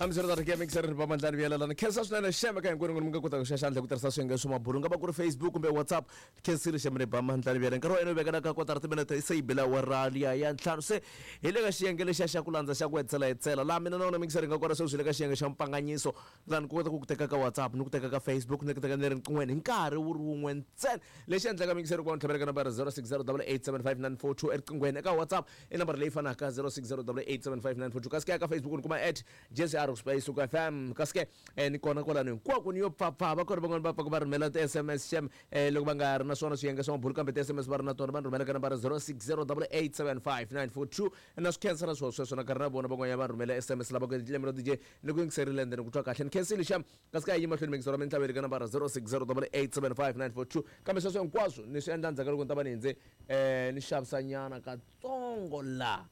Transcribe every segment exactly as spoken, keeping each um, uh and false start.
Hambiswiritano ke mixer ri pamandlani vuyelelana khensa swinene xeme ka hinkwenu mi nga kota ku xa xandla ku tirhisa swiyenge swa mabulu nga va ku ri Facebook kumbe WhatsApp khensile xeme ri pamandlani vuyela nkarhi wa yena wu vekela ka kotara timinete se yi bela awara liya ya ntlhanu se hi le ka xiyenge lexiya xa ku landza xa ku hetisela hetisela laha mina na wena mixer hi nga kona sweswi hi le ka xiyenge xa mpanganyiso laha ni kota ku ku teka ka WhatsApp ni ku teka ka Facebook ni ku teka ni ri riqinghweni hi nkarhi wu ri wun'we ntsena lexi endlaka mixer ku va ni tlhavela ka nambara zero six zero double eight seven five nine four two eriqinghweni eka WhatsApp i nambara leyi fanaka zero six zero double eight seven five nine four two kasi ke ka Facebook ni kuma at J C R Space F M kasi ke eh, ni kona kwalano hinkwako ni yo pfapfa va kona van'wani va pfaka va rhumela ti-S M S xem eh, loko va nga ri na swona swiyenge swa mabulu kambe ti-S M S va ri na tona va ni rhumela ka nambara zero six zero double eight seven five nine four two na swi khensa na swona sweswo na karhi na vona van'wanyana va rhumela S M S lava ku lembe D J ni ku yingiserile ende ni ku twa kahle ni khensile xem kasi ka yi mahlweni mingisero mintlhaveli ka nambara zero six zero double eight seven five nine four two kambe sweswo hinkwaswo ni swi endla ndzhaku ka loko ni ta va ni hindze um ni xavisa nyana katsongo laha.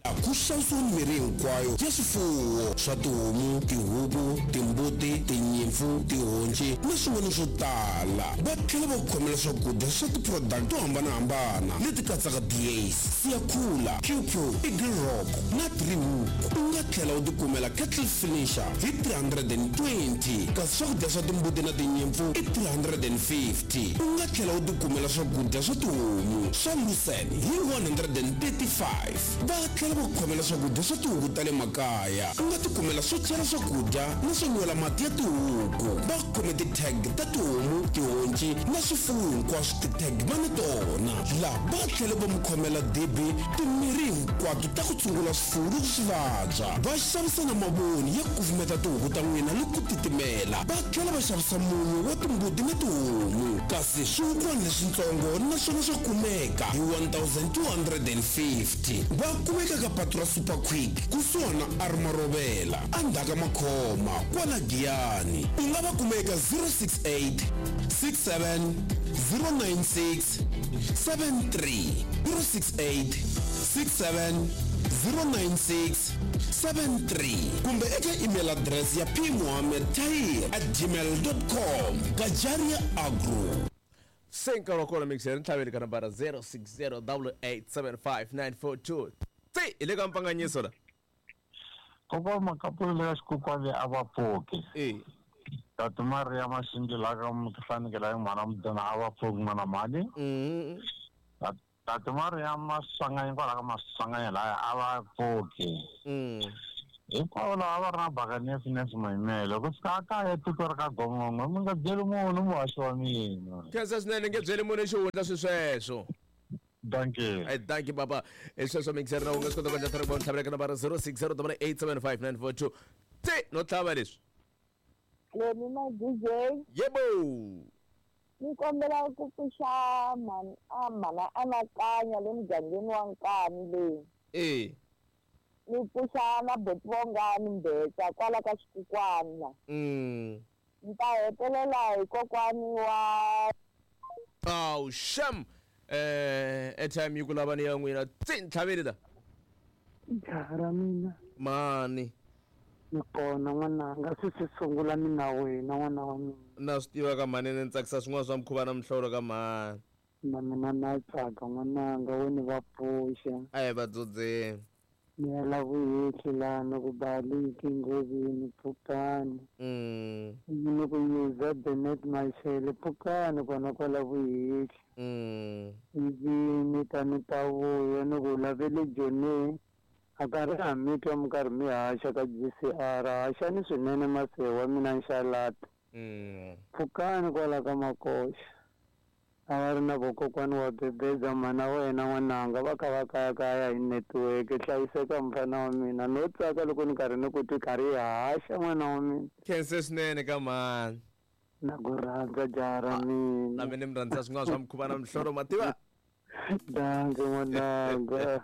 Ku xavisiwa mirhi hinkwayo ya swifuwo swa tihomu, tihuku, timbuti, tinyimpfu, tihonci na swin'wana swo tala. Va tlhela va ku khomela swakudya swa ti-product to hambanahambana leti katsaka Days, Siyakhula, Q Q, Eagle Rock na Three Hook. U nga tlhela u tikumela kettle finisher hi three hundred and twenty, kasi swakudya swa timbuti na tinyimpfu i three hundred and fifty. U nga tlhela u tikumela swakudya swa tihomu swa lucerne hi one hundred and thirty-five. Va tlhela va ku khomela swakudya swa tihuku ta le makaya. U nga tikumela swo chela swakudya na swo nwela mati ya tihuku. Va khome ti-tag ta tihomu, tihonci na swifuwo hinkwaswo, ti-tag va ni tona laha. Va tlhela va mi khomela dibi, timirhi hinkwato ta ku tshungula swifuwo loko swi vabya. Va xavisa na mavoni ya kufumeta tihuku ta n'wina loko ku titimela. Va tlhela va xavisa munyu wa timbuti na tihomu, kasi swihukwana leswitsongo naswona swa kumeka hi one thousand two hundred and fifty. Va kumeka ka patu ra Super Quick kusuhana Armarovela endzhaku makhoma kwala Giyani. U nga va kuma eka zero six eight six seven zero nine six seven three, zero six eight six seven zero nine six seven three, kumbe eka email address ya p mohammed tahir at gmail com. Gajaria Agro. Se nkarhi wa kona mixer ntlhaveli ka nambara zero six zero double eight seven five nine four two tsi hi le ka mpanganyiso la. Kokwa Makapula le ka xikokwani a va pfuki. E. Tati Maria Maxingila ka mutihlanekela ya n'wana mudena a va pfuki n'wana mhani. Mm. Tati Maria Maswanganyi kwala ka Maswanganyi laya a va pfuki. Mm. Hinkwavo lava va ri na bakani Finesse Mayimele ku fika a kaya tiko ri ka gongongo mi nga byeli munhu muhaxi wa mina. Khensa swinene nge byeli munhu xihundla swi sweswo. Dankie. Hey, thank you papa. Hi sweswo mixer na u nga swi kota ku endla tirhi ntlhavela ka nambara zero six zero double eight seven five nine four two tsi no tlhava leswi. Leni na D J. Yebo. Ni kombela ku pfuxa mhani a mhana anakanya le mugangeni wa Nkani leyi. E. Ni pfuxa na boti Vongani Mbetsa kwala ka xikukwani la. mm. Ni ta hetelela hi kokwani wa Aw sham eh airtime yi ku lava ni ya n'wina tsi ntlhaveli la. Jaha ra mina. Mani. Ni kona n'wananga, swi swi sungula mina wena n'wana wa mina. Na swi tiva ka mhani ni tsakisa swin'wana swa mukhuva na mihlolo ka mhani. Na mina na tsaka n'wananga wo ni va pfuxa. A hi vadzudzeni. Ni ya la vuhehli lana ku baliki ngovini pfukani. mm. Ni ku yuza Benet Mashele pfukani kona kwala vuhehli. Mm. Ivi ni ta ni ta vuya ni ku lavele Joni a karhi a mi twa mi karhi mi haxa ka G C R haxani swinene masewa wa mina nxalata. Mm. Pfukani kwala ka makoxa a va ri na vokokwani wa bebeza mana wena n'wananga va kha va kayakaya hi network. Hlayiseka mfana wa mina, no tsaka loko ni karhi ni ku twi karhi hi haxa n'wana wa mina. Khense swinene ka mhani. Na ku rhandza jaha ra Na mina. mina mi rhandza swin'wana swa mukhuva na mihlolo mativa. Danke n'wananga.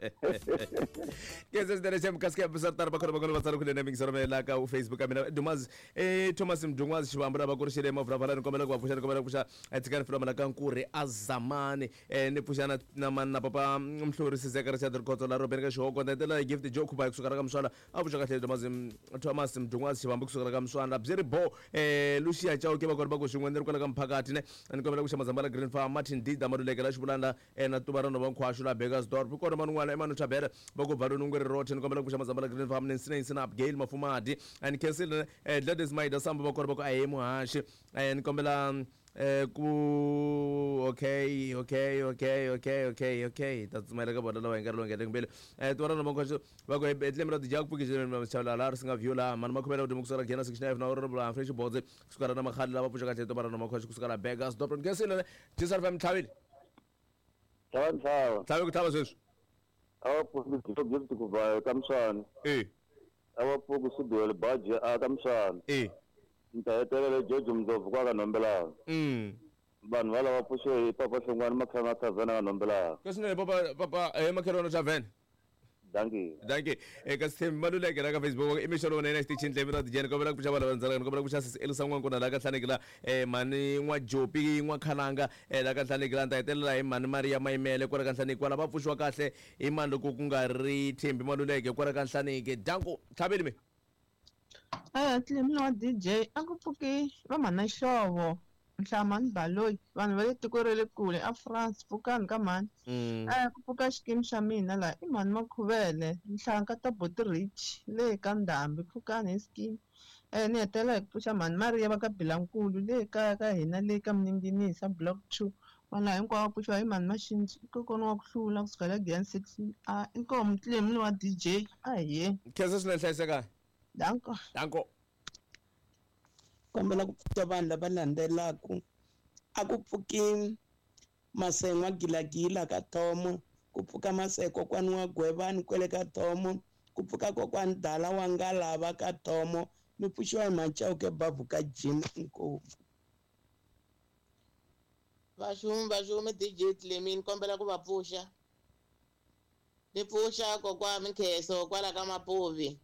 Khense swinene xem kasi ke swi tano va khona va kona va tsala kunene mingiselo la ka Facebook ka mina Dumazi eh Thomas Mdungwazi Xivambu lava ku ri xile mavulavala ni kombela ku va pfuxa ni kombela ku pfuxa eh, tshikani filoma la ka Nkurhi Azamani eh ni pfuxa na na mani na papa Mhluri Sizeka Richard Rikhotso la Robert ka Xihoko na tela Gift Joe Khuba kusuka ka Mswala a pfuxa kahle Thomas Thomas Mdungwazi Xivambu kusuka ka Mswala byi ri bo eh Lucia Chauke va kona va ku xin'we ni ri kwala ka mphakati ne ni kombela ku xa Mazambala Green Farm Martin D Damaluleke la Xivulanda eh na Tuva. tiva rona va nkhwaxu la Burgersdorp kona man'wana Emmanuel Chabere va ku valoni ngweri roche ni kombela ku pfuxa Mazambala Green Farm ni Sina Sina Abigail Mafumadi and Kensile eh Gladys Maida Samba va kona va ku ahe muhaxi eh ni kombela eh ku okay okay okay okay okay okay ta tsumaela ka vona lava hi nkarhi lowu nga mbele eh tiva rona va nkhwaxu va ku etlemi ra tijaku pfukile xavula la ri singa view la mani makhomela ku dimukusela gena sixty-nine na ri bula fresh boards kusuka na makhali lava pfuxa kahle tiva rona makhwaxu kusuka la Burgersdorp Kensile J S R F M tlhavile. Tlhava ntlhava. Tlhave ku tlhava sweswi. A va pfuki gift ku va ka msana. Eh. A va pfuki Siduwele Baji a ka msana. Eh. Ni ta hetelela George Mndlovu kwa ka Nombelana. Mm. Vanhu va lava pfuxe hi Papa Hlongwane Makhanga Tavern ka Nombelana. Ka swinene papa papa eh Makhelwana Tavern. Dankie. Dankie. Eka Sithembi Maluleke la ka Facebook i mixo lowunene xitichini tlhela ra dijeni kombela ku pfuxa vanhu vandzalaka ni kombela ku pfuxa sesi Elisa N'wankuna la ka Nhlaneki la eh mani N'wajopi N'wakhalanga eh la ka Nhlaneki la ni ta hetelela hi mani Maria Mayimele kwala ka Nhlaneki kwala va pfuxiwa kahle hi mani loko ku nga ri Thembi Maluleke kwala ka Nhlaneki danko tlhaveli mi. Eh Clem wa D J a ku pfuki va mhana Xihlovo Nhlamani Baloyi vanhu va le tiko ra le kule a France pfukani ka mhani. Mm. Eh ku pfuka xikimi xa mina laha i mhani Makhuvele Nhlanka ta Boti Rich le ka Ndhambi pfukani hi xikimi. Eh ni hetelela hi ku pfuxa mhani Maria va ka Bilankulu le kaya ka hina le ka Mninginisa block two vanhu lava hinkwavo va pfuxiwa hi mhani Maxinji i kokwana wa ku hlula kusuka la Giyani six a inkomu Clem wa D J a hi yeni. Khensa swinene hlayiseka. Danko. Danko. Kombela ku pfuxa vanhu lava landzelaka. A ku pfuki Masengwa Gilagila ka Thomo, ku pfuka Maseko kokwani wa Gwevani kwele ka Thomo, ku pfuka kokwani Dala wa Ngalava ka Thomo, mi pfuxiwa hi Machauke Bavhu ka Jim inkomu. Vaxumi vaxumi D J Clemi ni kombela ku va pfuxa ni pfuxa kokwa Mikheso kwala ka Mapuvi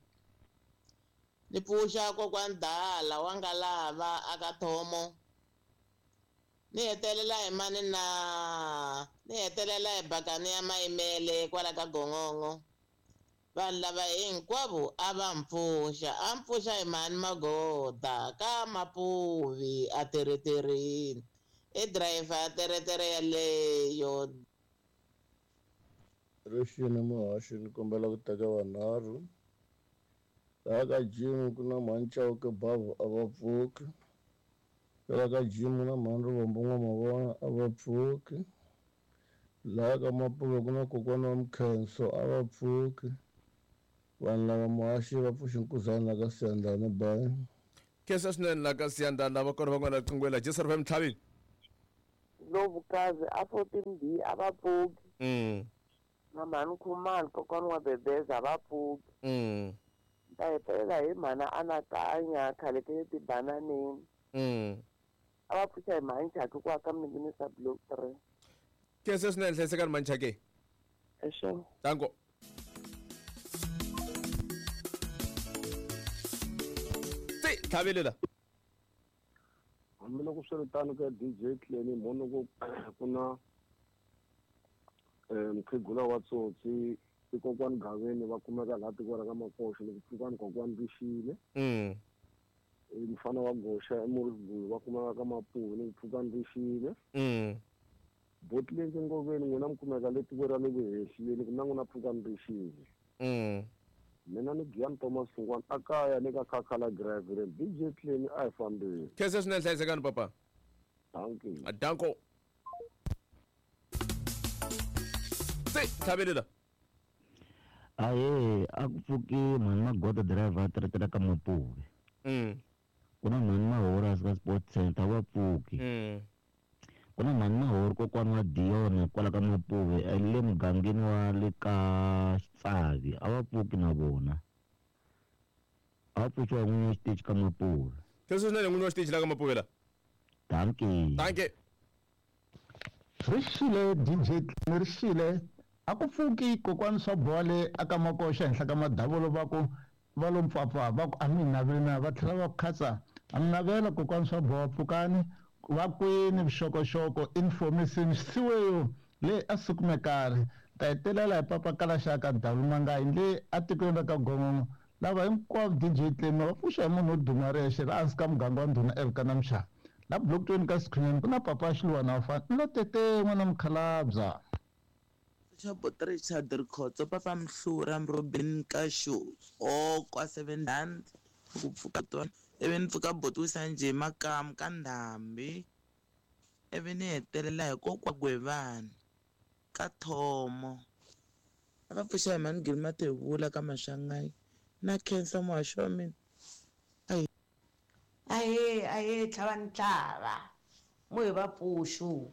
ni pfuxa kokwani Dala wa Ngalava aka Thomo ni hetelela hi mani na ni hetelela hi Bakani ya Mayimele kwala ka Gongongo vanhu lava hinkwavo a va mpfuxa a mpfuxa hi mani Magoda ka Mapuvi a tereterini i driver ya teretere yaleyo. Rixini muhaxi ni kombela ku teka vanharhu laha ka Jim ku na mhani Chauke Bavhu a va pfuki laha ka Jim ku na mhani Rivombo N'wamavona a va pfuki laha ka Mapuve ku na kokwana wa Mkhenso a va pfuki vanhu lava muhaxi va pfuxi nkuzana la ka Siyandhani bayi. Khensa swinene la ka Siyandhani lava kona van'wana riqingweni la J S R F M tlhavini. Ndlovukazi a fourteen B a va pfuki. Mm. Na mhani Khumalo kokwana wa Bebeza a va pfuki. Mm. Ta hetelela hi mhana Anakanya khale ka le tibananeni. Mm. A va pfuxa hi mhani Chaki ku aka Mninginisa block three. Khensa swinene hlayisekani mhani Chaki. Exo. Danko. Ti tlhavile la. Hambiloko swi ri tano ka D J Clemi mhoni ku ku na eh mukhegula wa tsotsi i kokwani Gaveni va kumeka laha tiko ra ka Makoxo loko pfukani kokwani Rixile. Mm. I mufana wa Goxa eMorrisburg va kumeka ka Mapuve ni pfukani Rixile. Mm. Botlenke Ngoveni n'wina mi kumeka le tiko ra le Vuhehleni ku na n'wina pfukani Rixile. Mm. Mina ni Giyani Thomas Sungwana a kaya le ka Khakhala Gravel D J Clemi a hi fambeni. Khensa swinene hlayisekani papa. Dankie. Danko. Ti tlhavile la. Ahee, a ku pfuki mhani Magoda driver a teretera ka Mapuve. Mm. Ku na mhani Mahorasi ka Sports Center va pfuki. Mm. Ku na mhani Mahori kokwana wa Diona kwala ka Mapuve eh, le mugangeni wa le ka Xitsavi a va pfuki na vona. A va pfuxiwa hi n'winyi wa xitichi ka Mapuve. Khensa swinene n'winyi wa xitichi la ka Mapuve la. Dankie. Dankie. Rixile D J Clemi rixile a ku pfuki kokwani swa bole aka Makoxa henhla ka madavolo va ku va lo mpfapfa va ku a mi naveli na va tlhela va ku khatsa a mi navela kokwani swa boha pfukani va kwini vuxokoxoko information siweyo le a sukumekari ta hetelela hi papa kalaxaka dalumangayi le atikweni ra ka Gongongo lava hinkwavo D J Clemi va pfuxa hi munhu wo duma rexe laha hansi ka muganga wa ndhuna Elka na Mxava la block twenty ka Sikhunyani ku na papa Xiluwana wa fana ni lo tete n'wana mukhalabya. Pfuxa Boti Richard Rikhotso Papa Mhlura Robin Kashu o kwa seven rand ku pfuka tona ivi ni pfuka Boti Wisanje Makamu ka Ndhambi ivi ni hetelela hi kokwa Gwevani ka Thomo. A va pfuxa hi mhani Gilma Thevula ka Mashangayi na khensa muhaxi wa mina. Ahee ahee tlhava tlhava mo hi va pfuxu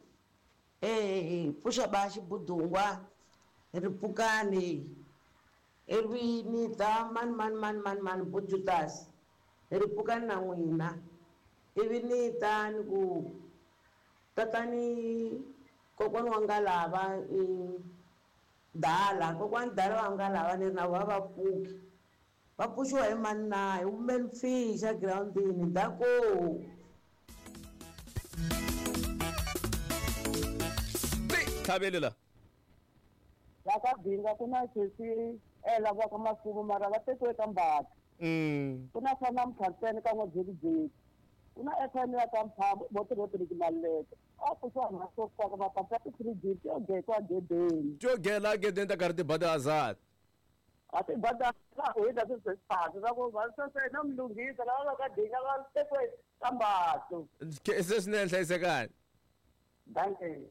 eh pfuxa ba xibudungwa ri pfukani ivi ni ta mani mani mani mani mani bujutas ri pfukani na n'wina ivi ni ta ni ku tatani kokwani wa nga lava dala kokwani dala wa nga lava ni ri na vona va pfuki va pfuxiwa hi mani na hi women fish egirawundini dako. Tlhaveli la la ka Binga ku na sesi ela va ka Masuku mara va tekiwe ka Mbata. Ku na swa namuntlha ntsena ka n'wabyelibyeli ku na F M ya ka Mphamo Boti Rodrick Maluleke a pfuxiwa mhasokaka mapapa ya ti-three G ti yo gekiwa gedeni ti yo gela gedeni ta karhi ti ba ti-hazard a ti ba ta hina swi swa ku va sweswe na Mlunghisa lava va ka Dinga va tekiwe ka Mbato. Se swinene hlayisekani. Danke.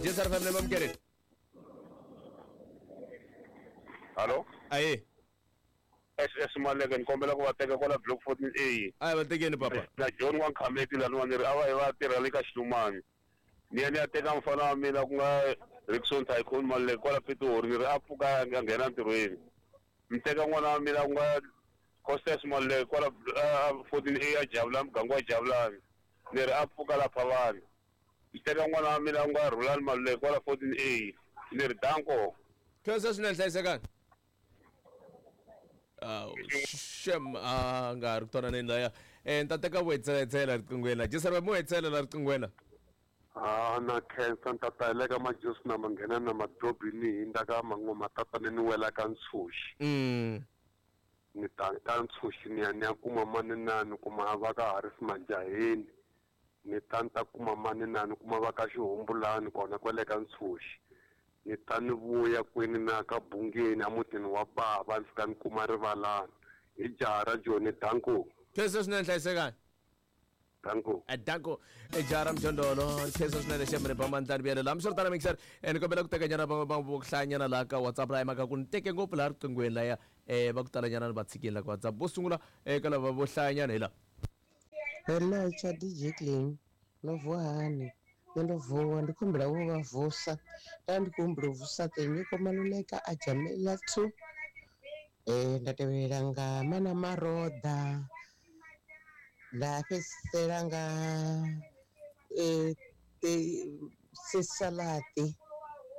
Jesar family mamkereni. Hallo? Aye. S S Maleke ni kombela ku va teka kwala block fourteen A. Ayi va tekeni papa. Na John wa Nkhameti laniwa ni ri a va yi va tirha le ka Xilumani. Ni ya ni ya teka mfana wa mina ku nga Rickson Tycoon Maleke kwala Pitori ni ri a pfuka a nghena ntirhweni. Ni teka n'wana wa mina ku nga Costas Maleke kwala fourteen A a Javulani muganga wa Javulani. Ni ri a pfuka la Phavani. Ni teka n'wana wa mina ku nga Rhulani Maluleke kwala fourteen A. Ni ri danko. Khensa swinene hlayisekani. Awu shem a nga ri ku twananeni laya um ni ta teka vuhetseletsela riqinghweni la jesar mo hetsela la riqinghweni la. A na khensa ni ta tayeleka majusi na manghena na madobini hi nda ka man'we matatana ni wela ka ntshuxi. Ni ta ka ntshuxi ni ya ni ya kuma mani na ni kuma va ka Harris Majaheni ni ta ni ta kuma mani na ni kuma va ka Xihumbulani kona kwale ka ntshuxi. Ni ta ni vuya kwini na ka Bungeni emutini wa bava ni fika ni kuma rivalani hi jaha ra Joni danko. Khensa swinene hlayisekani. Danko. Danko jaha ra Mjondolo khensa swinene xemre ba mandlani vuyelo la miswiritano mixer ni kombela ku teka nyana va va ku hlayanyana laha ka WhatsApp laha mhaka ku ni teke ngopfu laha riqinghweni laya um va ku talanyana ni va tshikini la ka WhatsApp vo sungula eka lava vo hlayanyana hi laha. Hello cha D J Clean no vuhani nṋe ndo vuwa ndi khumbula vho vha vusa nda ndi khou humbula u vusa Tenyiko Maluleka a Jamela two eh nda tevhelela nga Mana Maroda nda fhedzisela nga eh Sisalati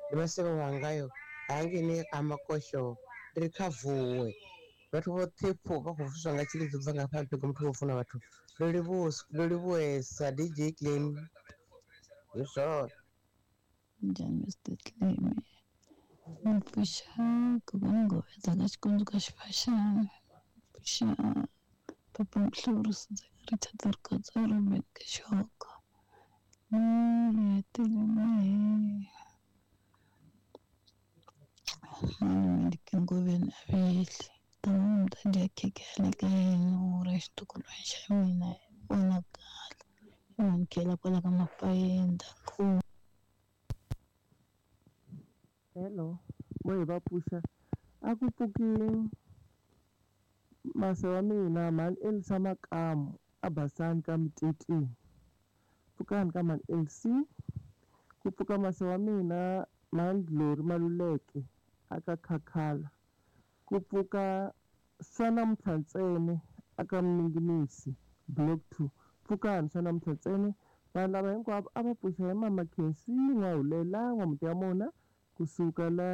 ndi masevho wangayo hangeni ka Makosho ndi ri kha vuwe vhathu vhoṱhe pho vha khou vuswa nga tshilidzo bva nga fha mphego muthu wo funa vhathu ndo livhuwesa D J Clean. Yes, Njhani Mister Clem? Ni pfuxa kokwana Nghovetsa ka Xikundzu ka Xifaxana. Pfuxa Papa Mhluri Richard Rikhotso Robert Kashoko. Ni hetelela hi mani Meliki Ngoveni Avehli. Tani mi ta dya khekhe ya le ka yena u ra xitukulwana xa mina vonakala. Khela kwala ka Mapayeni danko. Hello, mo hi va pfuxa a ku pfuki mase wa mina mhani Elsa Makamu a Basani ka Mtetini pfukani ka mhani Elsie ku pfuka mase wa mina mhani Glory Maluleke a ka Khakhala ku pfuka swa namuntlha ntsena a ka Mninginisi block two pfukani swa namuntlha ntsena vanhu lava hinkwavo a va pfuxa hi mama Khensi N'wahulela N'wamuti ya mona kusuka la.